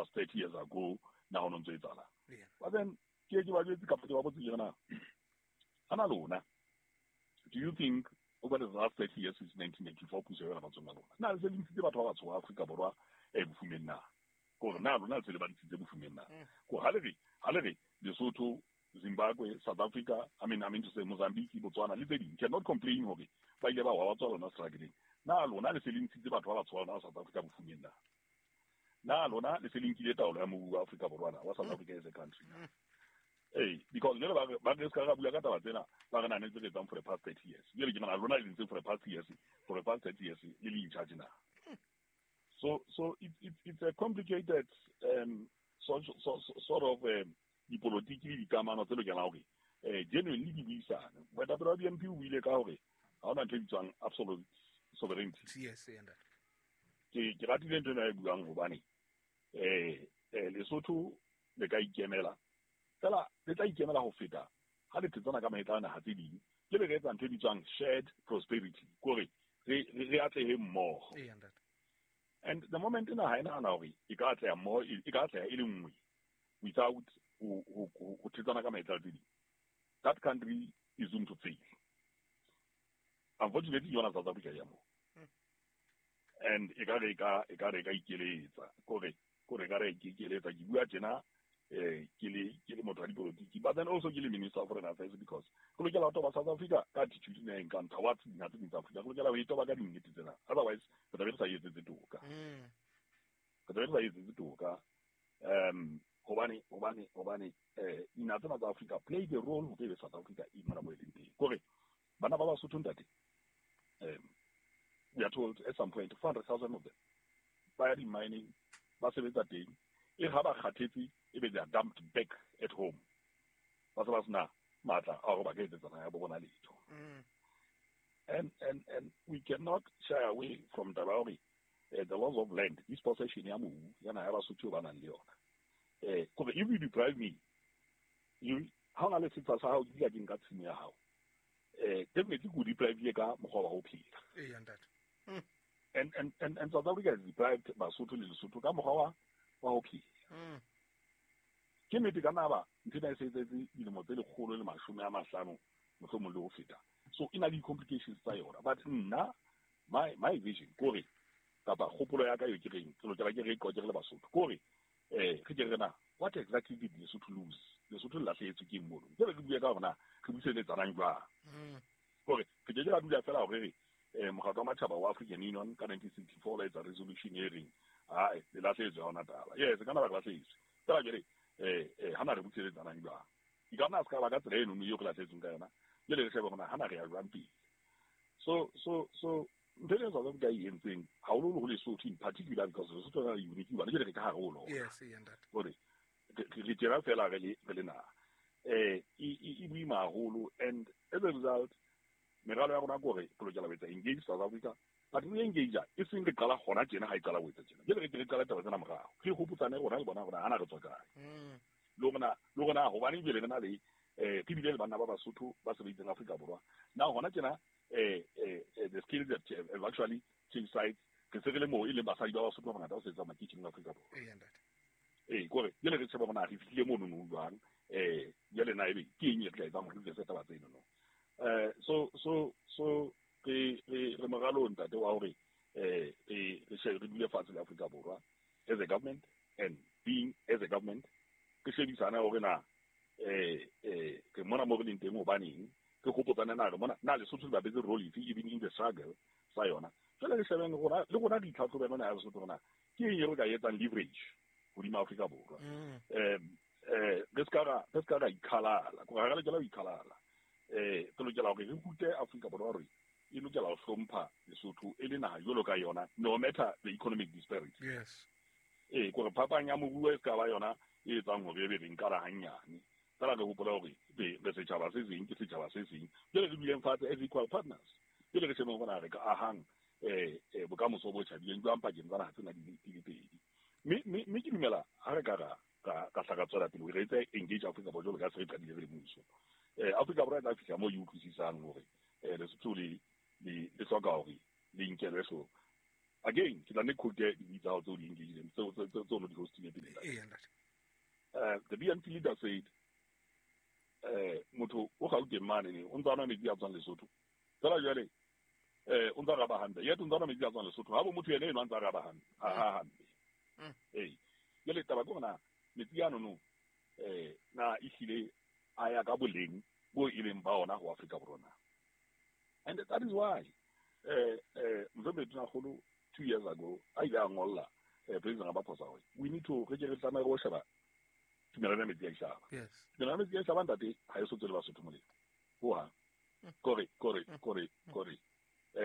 was 30 years ago, na ho no ntso etsahala. Yeah. But then ke ke ba jwetse kapa ke ba botse ke re na ana lona, do you think over the last 30 years since 1994 puso ya yona matsong a lona, na le se le ntshitse batho ba batsho ba Afrika Borwa bofumeng na? Kore na lona le se le ba ntshitse bofumeng na? Kore ha le re Lesotho, Zimbabwe, South Africa, I mean to say Mozambique, Botswana le tse ding cannot complain hore ba ile ba wa ba tswa lona struggling. Na lona le se le ntshitse batho ba batsho ba lona South Africa bofumeng na? Na lona le se le nkile taolo ya mobu wa Afrika Borwa na, wa South Africa as a country na? Ee, because jale ba re se ka ra bua ka taba tsena, ba re nane tse re etsang for the past 30 years. Jale ke nahana lona le ntse for the past 30 years le in charge na? So it's a complicated so, sort of dipolotiki le dikamano tse lokelang hore genuinely di buisane. Moetapele wa BNP o buile ka hore ha hona ntho e bitswang absolute sovereignty. Yes, e ntate. Ke ratile ntho ena e buang hobane Lesotho le ka ikemela fela, le tla ikemela ho feta ha le thetsana ka mahetla a naha tse ding, ke le re etsa ntho e bitswang shared prosperity, kore re atlehe mmoho. E ntate. And the moment naha e nahana hore e ka atleha mmoho, e ka atleha e le nngwe without ho thetsana ka mahetla tse ding, that country is doomed to fail. Unfortunately, yona South Africa ya mo and e ka re e ka ikeletsa, kore e ka re ikeletsa. Ke bua tjena ke le motho wa dipolotiki, but then also ke le Minister of Foreign Affairs, because re lokela ho toba South Africa ka attitude ena e nkang towards dinaha tse ding tsa Africa. Re lokela ho e toba ka dinnete tsena, otherwise re tlabe re sa etsetse toka. Re tlabe re sa etsetse toka hobane dinaha tsena tsa Africa play the role hore ebe South Africa e mona mo e leng teng. Kore bana ba Basotho, ntate, we are told at some point 400,000 of them ba ya di-mining, ba sebetsa teng, e ha ba kgathetse ebe they are dumped back at home, ba se ba sena matla a hore ba ka etsetsa naha ya bo bona letho. And we cannot shy away from taba ya hore the loss of land, dispossession ya mobu ya naha ya Basotho ba nang le yona. Kore if you deprive me, you ha o na le setsha sa hao, ke dula ke nka tshimo ya hao, definitely ke o deprive ka mokgwa wa ho phela. E ntate. And South Africa has deprived Basotho le Lesotho ka mokgwa wa ho phela. Ke nnete ka naba ntho ena e se etsetse dilemo tse 150 mohlomong le ho feta, so e na le di-complications tsa yona. But nna my vision kore, kapa kgopolo ya ka eo ke reng ke lokela ke re qoke re le Basotho, kore re ke re na what exactly did Lesotho lose? Lesotho le lahlehetswe ke eng mono? Jwale re bue ka hore na re buseletsanang jwang. Kore re ke ke ra dula fela hore re mokgatlo wa matjhaba wa African Union ka 1964 la etsa resolution e reng ae le lahlehetswe, ha hona taba. Yes, ka na ba re lahlehetswe fela jwale hana re buseletsanang jwang? E ka nna a se ka ba ka tsela eno eo re lahlehetsweng ka yona. Jwale re shebe hore na hana re ya jwang pele. So ntho e South Africa e entseng haholoholo ho Lesotho in particular, because Lesotho na le unique hobane jwale re ka hare ho lona. Yes, e ntate. Hore re tjena fela re le naha e boima haholo. And as a result, meralo ya rona ke hore re lokela ho etsa engage South Africa, but re engage e seng re qala hona tjena. Ha e qala ho etsa tjena, jwale re ke re qala taba tsena morao, re hopotsane rona le bona hore hana re tswa kae. Le hore na hobane jwale re na le re bile le banna ba Basotho ba sebeditseng Afrika Borwa na hona tjena, the skills that have actually changed sides. Re se re le moo e leng basadi ba Basotho ba bangata ba sebetsang makeisheneng Afrika Borwa. E ntate. Ee, kore jwale re shebe hore na re fihlile mono no jwang. Jwale na ebe ke eng e re tla etsang hore re tlese taba tseno no? So re moralo, ntate, wa hore re shebe, re dule fatshe le Afrika Borwa as a government, and being as a government re shebisane hore na re mona mo re leng teng hobaneng, re hopotsane na re mona na Lesotho le bapetse role efe even in the struggle sa yona. Jwale re shebeng rona le rona, re itlhatlhobe rona ya Lesotho rona ke eng e re ka etsang leverage hodima Afrika Borwa. Re ska ra ikhalala, kore ha re lokela ho ikhalala. Re lokela hore re rute Afrika Borwa hore e lokela ho hlompha Lesotho e le naha jwalo ka yona, no matter the economic disparity. Ee, kore phapang ya moruo e ska ba yona e etsang hore ebe re nkara hanyane fela. Re hopola hore re setjhaba se seng, ke setjhaba se seng. Jwale re duleng fatshe as equal partners, jwale re shebeng hore na re ka ahang bokamoso bo tjhabileng jwang pakeng tsa naha tsena di le pedi. Mme ke dumela ha re ka ra hla ra tswela pele re etse engage Afrika Borwa jwalo ka se re qadile re le mmuso, Afrika Borwa e tla fihla moo e utlwisisang hore Lesotho le hloka hore le nkelwe hloohong. Again, ke tla ne quote dibui tsa hao tseo di engagileng, tseo no di hostile pele. The BNP leader said, motho o Gauteng mane ne o ntse a nwa metsi a tswang Lesotho. Fela jwale o ntse a raba hampe. Yet o ntse a nwa metsi a tswang Lesotho. Ha bo motho yena eno a ntse a raba hampe. Ha hampe. Ee. Jwale taba ke hore na metsi ano no na ehlile a ya ka boleng bo e leng ba ona ho Afrika Borwa na. And that is why Mohlomphehdi Tonakgolo 2 years ago a ile a ngolla President Ramaphosa hore we need to re ke re tlameha ho sheba tumelano ya metsi a Ishaba. Tumelano ya metsi a Ishaba ntate ha e so tswele Basotho molemo. Ho hang. Kore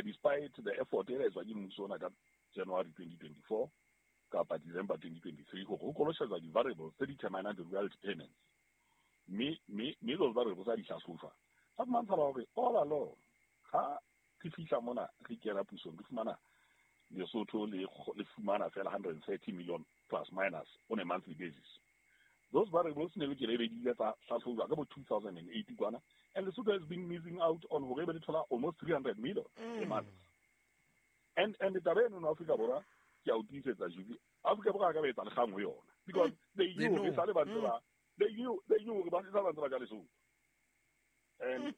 despite the effort e etswa ke mmuso ona ka January 2024 kapa December 2023 hore ho koloshetswa di-variables tse determinang the royalty payments. Mme those variables a di hlahlojwa. Sa fumantshala hore all along ha re fihla mona re kena pusong re fumana Lesotho le fumana fela 130 million plus minus on a monthly basis. Those variables ne lokela ebe di ile tsa hlahlojwa ka bo 2008 kwana, and Lesotho has been missing out on hore ebe le thola almost 300 million a month. And taba eno no Afrika Borwa ke a o tiisetsa Julie, Afrika Borwa a ka ba etsa lekgang ho yona because they knew re sale ba ntse ba they knew hore ba sale ba ntse ba ja Lesotho. And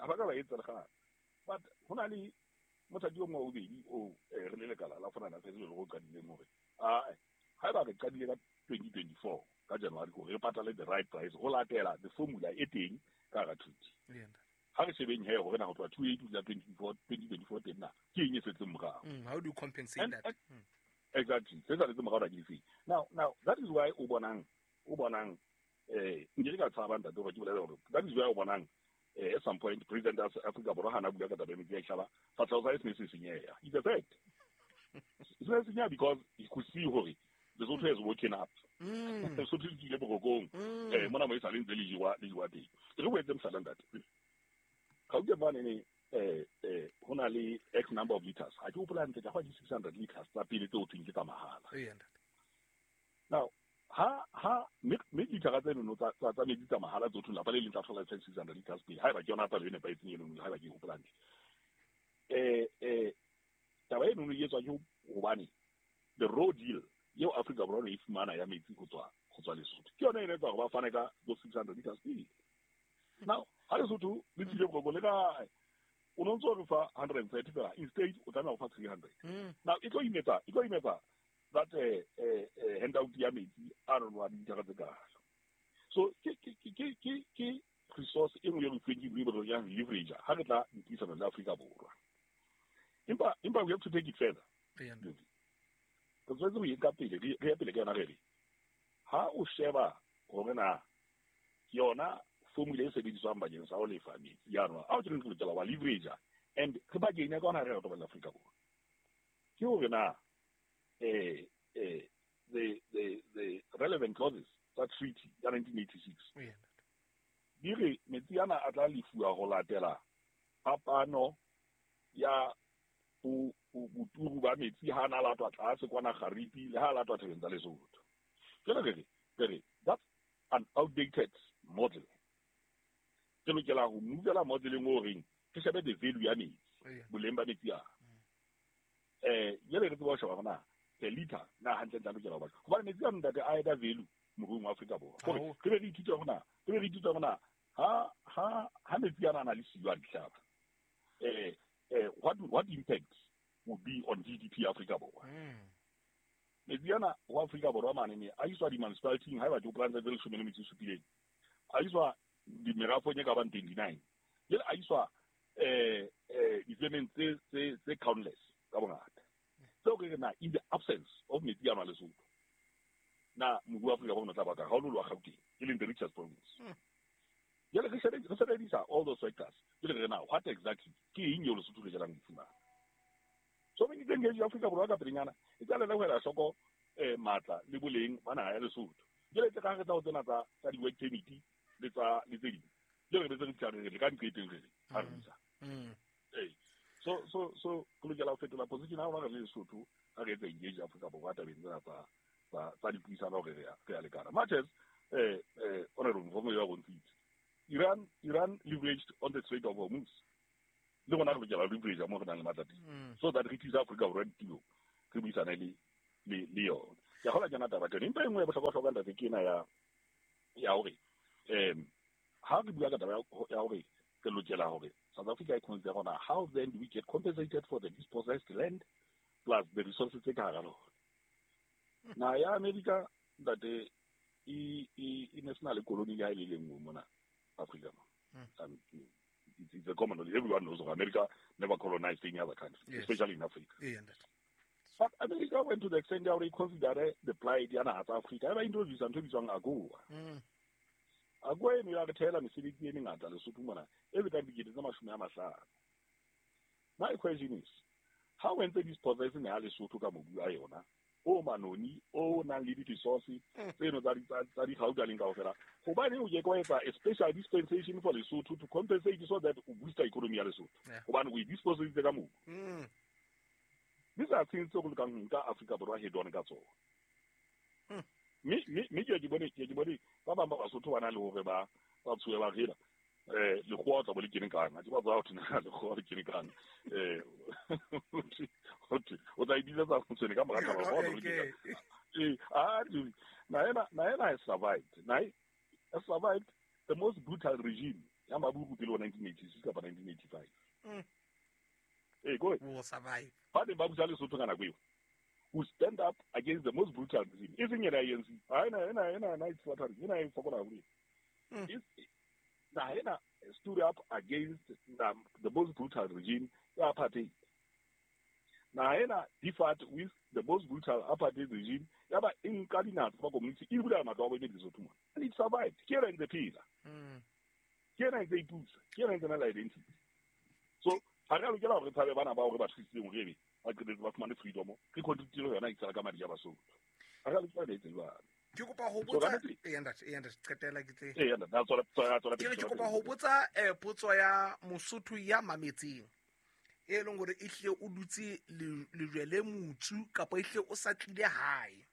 ha ba ka ba etsa lekgang. But ho na le mothati o mongwe wa bobedi o re le lekala la Foreign Affairs le go qadileng hore haeba re qadile ka 2024 ka January hore re patale the right price ho latela the formula e teng ka hara treaty. Ha re shebeng he hore na ho tloha 2008 ho 2024 teng na ke eng e setseng morao. How do you compensate that? Exactly. Se saletse morao na ke difeng. Now that is why o bonang nke ka tshaba ntate hore ke bolele hore that is why o bonang at some point President of Africa Borwa hana bua ka taba ya metsi a Ishaba, sefahleho sa hae se ne se senyeha. It's a fact. Se ne se senyeha because he could see hore Lesotho has woken up. Lesotho le tswile borokong. Mona mo e sale ntse le jewa teng. Re boetse mohlala ntate. Gauteng mane ne ho na le X number of liters. Ha ke hopola hantle, ka hwa di 600 liters tsa pele tseo thweng ke tsa mahala. Now ha me litera tse nono tsa metsi tsa mahala tso thweng lapa le leng tla thola 600 liters pele. Haeba ke yona palo e nepahetseng eno, haeba ke hopola hantle. Taba eno e etswa ke hobane the raw deal eo Afrika Borwa e fumana ya metsi ho tswa Lesotho. Ke yona e etsa hore ba fane ka those 600 liters pele. Now, ha Lesotho le tsile boroko le ka o no ntso re fa 130 fela, instead o tlameha ho fa 300. Now e tlo imetsa that handout ya metsi a rona wa ditara tse kaalo. So ke resource e nngwe e re fuweng ke re ya leverage ha re tla dipuisano le Afrika Borwa. Empa we have to take it further. Re tshwanetse ho e nka pele, re ye pele ka yona re re ha o sheba hore na yona formula e sebediswang bakeng sa ho lefa metsi ya rona ao ke re lokela wa leverage and re ba kenya ka hona re re Afrika Borwa. Ke hore na the relevant clauses tsa treaty ya 1986 di re metsi ana a tla lefuwa ho latela phapano ya boturu ba metsi ha na latwa tlase kwana Garipi le ha latwa thabeng tsa Lesotho. Jwale re that's an outdated model. Re lokela ho movela modeleng o reng re shebe the value ya metsi, boleng ba metsi a. Jwale re tseba ho sheba hore na per liter na hantle tla lokela ho batla. Hobane metsi a ntate a eda value moruong wa Afrika Borwa. Hore re be re ithuta hore na ha metsi ana a na le siyo a dihlaba. What impact will be on GDP Afrika Borwa? Metsi ana ho Afrika Borwa mane ne a iswa di-municipality haeba ke hopola tse 17, a iswa dimerafong e ka bang 29, jwale a iswa difemeng tse countless ka bongata. Tseo ke re na in the absence of metsi ana Lesotho na moruo wa Afrika Borwa o tla baka haololo wa Gauteng e leng the richest province. Jwale re sebedisa all those factors. Jwale re na what exactly ke eng eo Lesotho le jalang fumana. So we need to engage Afrika Borwa ka pelenyana e tla le ho ela hloko matla le boleng ba naha ya Lesotho. Jwale tse ka re tla ho tsena tsa di-work permit le tsa le tse ding. Jwale re betse re re ka nqeteng re ha re busa. So re lokela ho fetola position ha rona re le Lesotho ha re etsa engage Afrika Borwa tabeng tsena tsa dipuisano hore re a lekana. Much as Honorable Mfomo ya bontshitse Iran leveraged on the Strait of Hormuz. Le rona re lokela ho leverage mo re nang le matla teng. So that re tlisa Afrika Borwa ditulong. re buisane le yona. Ke a kgolwa ke yona taba teng. Empa e nngwe ya bohlokwa-hlokwa ntate ke ena ya hore ha re bua ka taba ya hore re lokela hore South Africa e consider hore how then do we get compensated for the dispossessed land plus the resources tse ka hara lona. Naha ya America ntate e ne sena le koloni le ha e le nngwe mona Africa mo. It's a common knowledge. Everyone knows America never colonized any other country, yes, especially in Africa. Yeah, but America went to the extent ya hore e consider the plight ya naha tsa Africa. E ba introduce ntho e bitswang AGOA. AGOA eno ya re theela mesebetsi e mengata Lesotho mona e fetang 50,000. My question is, how went this possessing ya Lesotho ka mobu a yona o manoni o nang le di-resource tseno tsa digauta leng kaofela, hobane o ke kwa etsa a special dispensation for Lesotho to compensate so that o booster economy ya Lesotho, hobane o e disposeditse ka mobu. These are things tse go lokang ho nka Afrika Borwa head on ka tsona. Mme ke bone ba bang ba Basotho ba na le hore ba tshohe ba rela lekgowa o tla bo le kene kang, ha ke ba tswa ho thwe lekgowa le kene kang, o tla e bitsetsa motshwene ka mora taba, lekgowa o tla bo le kene kang. Naena has survived. Has survived the most brutal regime ya Maburu pele ho 1986 kapa 1985. Go ahead. Will survive. Ba ne ba busa Lesotho ka nako eo, who stand up against the most brutal regime. E seng ena ANC. Ha ena it's flattering. Ena e fokola haholo. Ena stood up against the most brutal regime ya apartheid. Naena differed with the most brutal apartheid regime ya ba e nka dinaha tsa community e bula matlo a bone Lesotho mona. And it survived. Ke ena ntse phela. Ke ena ntse ipusa. Ke ena ntse na le identity. So ha re lokela hore re tshabe bana ba hore ba thusitseng hore ebe ba qetetse ba fumane freedom, re contribute yona e tsala ka madi a Basotho. Ha re lokela ho etsa jwalo. Ke kopa ho botsa ntate qetela ke tle. Ntate, Ke kopa ho botsa potso ya Mosotho ya mametseng e leng hore e hle o dutse lejwe le motsu kapa e hle o sa tlile hae.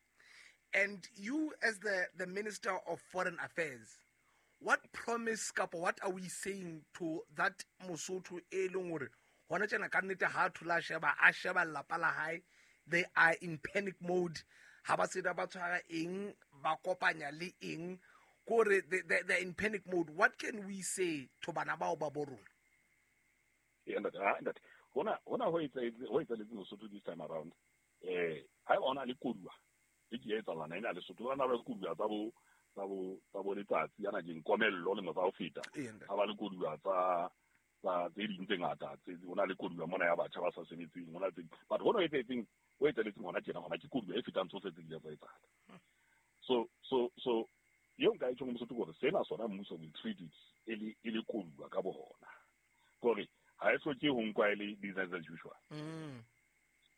And you as the Minister of Foreign Affairs, what promise kapa what are we saying to that Mosotho e leng hore hona tjena ka nnete ha thola sheba a sheba lelapa la hae, they are in panic mode, ha ba tseba ba tshwara eng, ba kopanya le eng, kore they're in panic mode. What can we say to bana bao ba bo rona? Ntate, hona ho etsahetse Lesotho this time around. Ha ona le koduwa e ke etsahala na ena Lesotho ba na ba koduwa tsa bo letsatsi yana ke nkomello le motsa ho feta. Ha ba le koduwa tsa tse ding tse ngata, tse hona le koduwa mona ya batjha ba sa sebetseng, hona tse, but hona ho etsahetseng hona tjena hona ke koduwa e fetang tsohle tse di tsa etsahala. So eo nka e tjhong Mosotho hore sena sona mmuso will treat it e le koduwa ka bohona. Kore ha e hloke ho nkwa e le business as usual.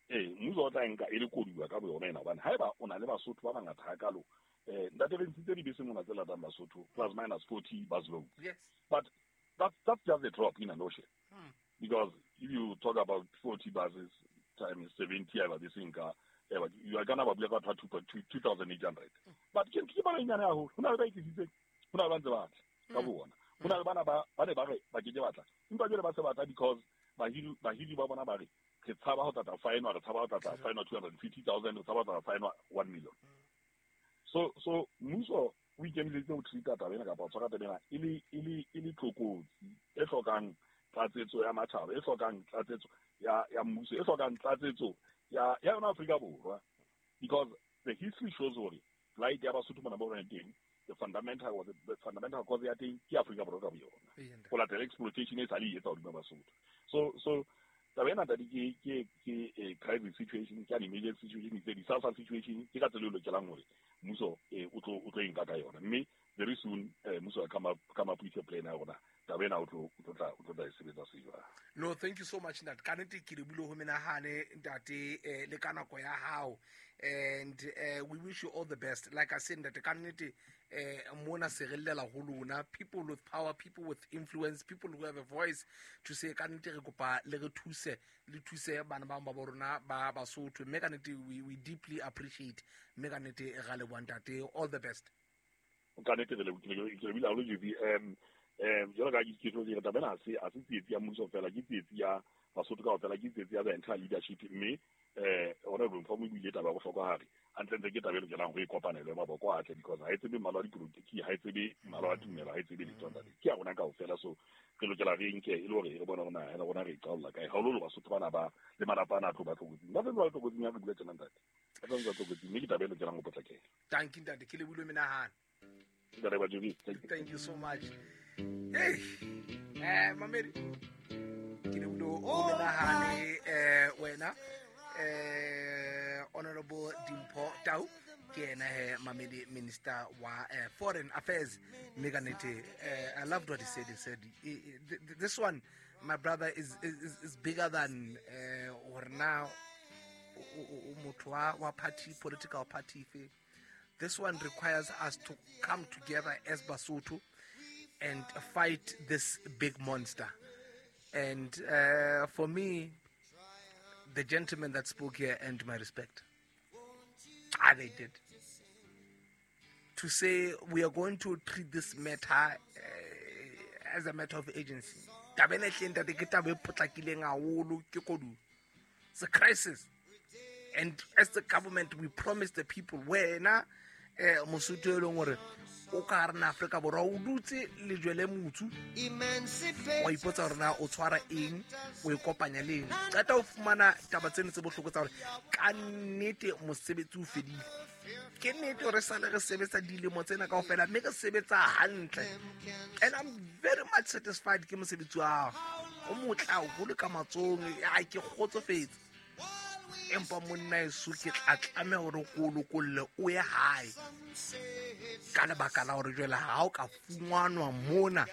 Mmuso o tla nka e le koduwa ka boyona ena, hobane haeba o na le Basotho ba bangata hakalo, ntate re ntshitse dibese mona tse latang Basotho plus minus 40 bus load. Yes. But that's just a drop in an ocean. Because if you talk about 40 buses times 70 eba bese nka, you are gonna ba bua ka 2,800. But ke bana nyane haholo. Ho na le ba ikisitseng, ho na le ba ntse ba tla ka bona. Ho na le bana ba ne ba re ba ke ke batla. Empa jwale ba se batla because bahiri ba bona ba re re tshaba ho tla fine, re tshaba ho tla fine 250,000, re tshaba ho tla fine 1 million. So mmuso o ikemiseditse ho treat-a taba ena kapa ho tshwara taba ena e le tlokotsi e hlokang tlatsetso ya matjhaba, e hlokang tlatsetso ya mmuso, e hlokang tlatsetso ya yona Afrika Borwa. Because the history shows hore plight ya Basotho mona bo rona teng, the fundamental cause ya teng ke Afrika Borwa ka boyona. Ho latela exploitation e sa le e etsa hodima Basotho. So taba ena ntate ke a crisis situation, ke an emergency situation, it's a disaster situation, ke ka tsela e lokelang hore mmuso o tlo e nka ka yona. Mme very soon mmuso wa come up with a plan ya rona. Taba ena o tlo tla e sebetsa se jwang. No, thank you so much ntate. Ka nnete ke lebile ho menahane ntate, le ka nako ya hao. And we wish you all the best. Like I said ntate, ka nnete mona se re llela ho lona, people with power, people with influence, people who have a voice to say ka nnete re kopa le re thuse, le thuse bana ba bo rona ba Basotho. Mme ka nnete we deeply appreciate. Mme ka nnete ra leboha ntate, all the best. Ka nnete re lebile haholo JB. Jwalo ka ke tlo dira taba ena, ha se tsietsi ya mmuso fela, ke tsietsi ya Basotho kaofela, ke tsietsi ya the entire leadership. Mme Honorable Mpho o buile taba ya bohlokwa hare hantle ke taba e lokelang ho e kopanelwe maboko a tle, because ha e tsebe mmala wa dipolotiki, ha e tsebe mmala wa tumelo, ha e tsebe letho ntate, ke ya rona kaofela. So re lokela re nke e le hore re bone hore naha ya rona re e qaolla kae, haholoholo Basotho bana ba le malapa ana a tlo ba tlokotsing, ba sentse ba le tlokotsing ya re bua tjena ntate, ba sentse ba tlokotsing, mme ke taba e lokelang ho potlakela. Thank you ntate, ke lebohile menahano. Ntate Bajobi, thank you. Thank you so much. Hey, mamedi, ke lebohile ho menahane wena Honorable Dimpho Tau, ke yena he mamedi, Minister wa Foreign Affairs. Mme ka nnete, I loved what he said. He said this one, my brother, is bigger than hore na o motho wa party, political party efe. This one requires us to come together as Basotho and fight this big monster. And for me, the gentleman that spoke here earned my respect. They did. To say we are going to treat this matter as a matter of urgency. Taba ena ehlile ntate ke taba e potlakileng haholo, ke koduwa. It's a crisis. And as the government, we promise the people, wena Mosotho e leng hore o ka hare na Afrika Borwa, o dutse lejwe le motsu, wa ipotsa hore na o tshwara eng, o e kopanya le eng. Qeta ho fumana taba tseno tse bohloko tsa hore ka nnete mosebetsi o fedile. Ke nnete hore sale re sebetsa dilemo tsena kaofela, mme re sebetsa hantle. And I'm very much satisfied ke mosebetsi wa hao. O motle haholo ka matsohong, ai ke kgotsofetse. Empa monna eso ke tla tlameha hore ke o lokolle o ye hae. Ka lebaka la hore jwale ha o ka fumanwa mona,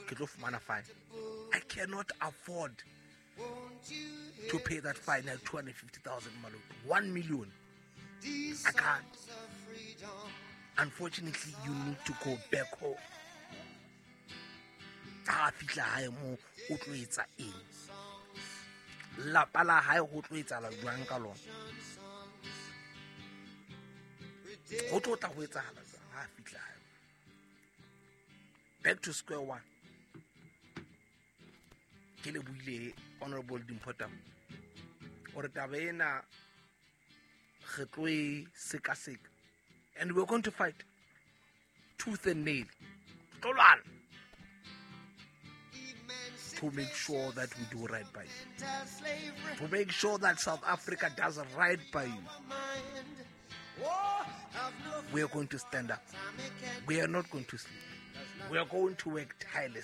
ke tlo fumana fine. I cannot afford to pay that fine at 250,000 malome. 1 million. I can't. Unfortunately, you need to go back home. Ha fihla hae moo, o tlo etsa eng? Lapa la hae ho tlo etsahala jwang ka lona? Ho tlo tla ho etsahala jwang ha fihla hae? Back to square one. Ke le buile Honorable Dimpho Tau hore taba ena re tlo e sekaseka, and we're going to fight tooth and nail. Tlo lwana to make sure that we do right by you, to make sure that South Africa does right by you. We are going to stand up. We are not going to sleep. We are going to work tirelessly.